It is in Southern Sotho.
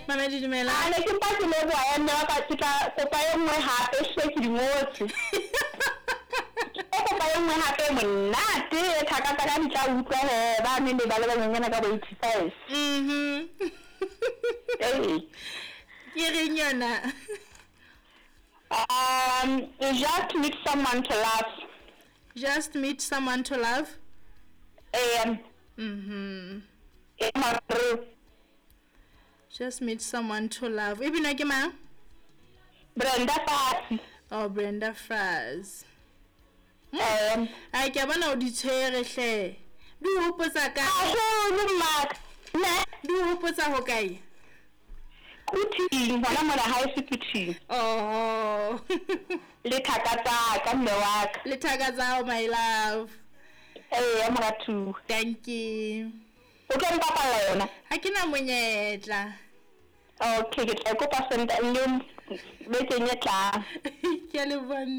Mamedi dumela. A ne ke mpa ke leboha ya mme wa ka, ke tla kopa e nngwe hape hle ke di ngotse. Ke kopa e nngwe hape e monate e thaka tsa ka di tla utlwa he ba ne ne ba le banyenyana ka bo 85. Ee. Ke reng yona? Just meet someone to love. Just meet someone to love. Ee. E mare. Just meet someone to love. E binwa ke mang? Brenda Fassie. Oh, Brenda Fassie. Ai ke a bona o di tshwere hle. Di o hopotsa kae? Haholo mmaka. Ne? Di o hopotsa ho kae? Quthing, hona mona haeso Quthing. Oh. Le thaka tsa ka mme wa ka. Le thaka tsa hao, my love. Ee, moratuwa. Thank you. O tlo mpapalla yona? Ha ke na monyetla. Okay, ke tla e kopa Sontaha le bekeng e tlang. Ke a leboha.